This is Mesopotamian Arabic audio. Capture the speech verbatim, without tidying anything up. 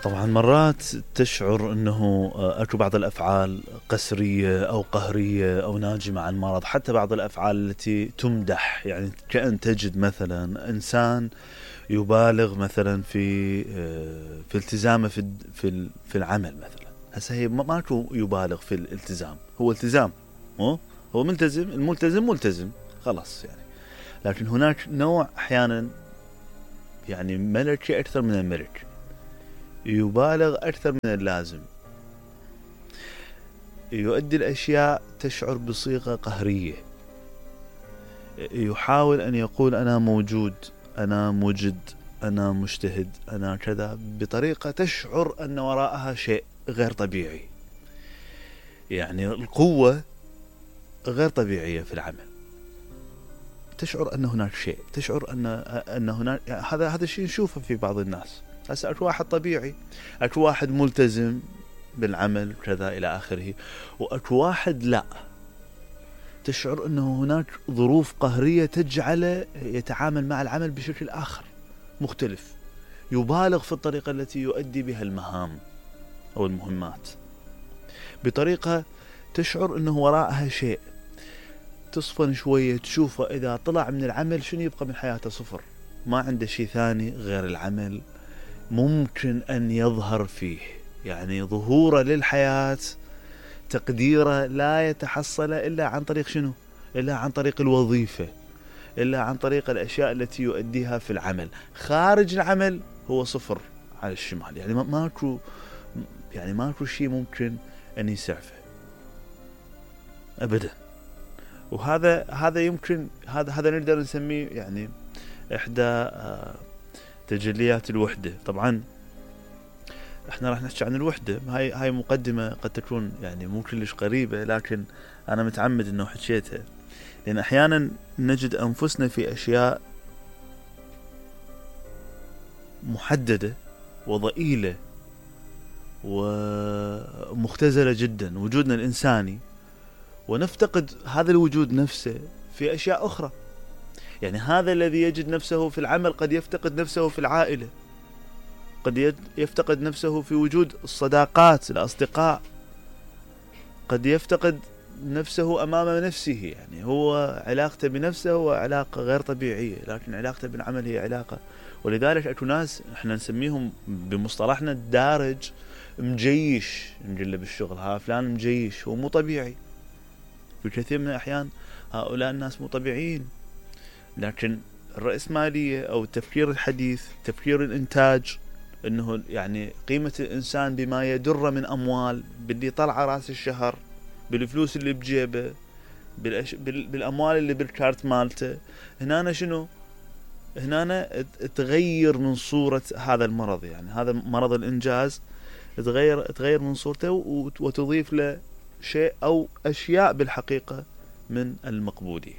طبعا مرات تشعر انه اكو بعض الافعال قسرية او قهرية او ناجمة عن مرض، حتى بعض الافعال التي تمدح، يعني كأن تجد مثلا انسان يبالغ مثلا في في التزامه في في في العمل مثلا. هسه هي ماكو يبالغ في الالتزام، هو التزام، هو هو ملتزم، الملتزم ملتزم خلاص يعني. لكن هناك نوع احيانا يعني ملكي اكثر من الملك، يبالغ أكثر من اللازم، يؤدي الأشياء تشعر بصيغة قهرية، يحاول أن يقول أنا موجود، أنا مجد، أنا مجتهد، أنا كذا، بطريقة تشعر أن وراءها شيء غير طبيعي. يعني القوة غير طبيعية في العمل، تشعر أن هناك شيء، تشعر أن أن هناك هذا هذا الشيء نشوفه في بعض الناس. هسه اكو واحد طبيعي، اكو واحد ملتزم بالعمل كذا الى اخره، واكو واحد لا، تشعر انه هناك ظروف قهرية تجعله يتعامل مع العمل بشكل اخر مختلف، يبالغ في الطريقة التي يؤدي بها المهام او المهمات، بطريقة تشعر انه وراءها شيء. تصفن شوية تشوفه اذا طلع من العمل شنو يبقى من حياته؟ صفر، ما عنده شيء ثاني غير العمل ممكن أن يظهر فيه. يعني ظهوره للحياة، تقديره لا يتحصل إلا عن طريق شنو؟ إلا عن طريق الوظيفة، إلا عن طريق الأشياء التي يؤديها في العمل. خارج العمل هو صفر على الشمال، يعني ماكو يعني ماكو شيء ممكن أن يسعفه أبدا. وهذا هذا يمكن هذا هذا نقدر نسميه يعني إحدى تجليات الوحدة. طبعا احنا راح نحكي عن الوحدة، هاي هاي مقدمة قد تكون يعني مو كلش قريبة، لكن انا متعمد انه حكيتها، لان احيانا نجد انفسنا في اشياء محددة وضئيلة ومختزلة جدا، وجودنا الانساني، ونفتقد هذا الوجود نفسه في اشياء اخرى. يعني هذا الذي يجد نفسه في العمل قد يفتقد نفسه في العائلة، قد يفتقد نفسه في وجود الصداقات، الأصدقاء، قد يفتقد نفسه أمام نفسه. يعني هو علاقته بنفسه هو علاقة غير طبيعية، لكن علاقته بالعمل هي علاقة. ولذلك أكو ناس احنا نسميهم بمصطلحنا الدارج مجيش، نقول له بالشغل ها فلان مجيش، هو مو طبيعي. في كثير من الأحيان هؤلاء الناس مو طبيعيين، لكن الرأسمالية أو التفكير الحديث، تفكير الإنتاج، إنه يعني قيمة الإنسان بما يدر من أموال، باللي طلع رأس الشهر، بالفلوس اللي بجيبه، بالأش... بال... بالأموال اللي بالكارت مالته. هنا شنو؟ هنا تغير من صورة هذا المرض، يعني هذا مرض الإنجاز تغير تغير من صورته وتضيف له شيء أو أشياء بالحقيقة من المقبولية.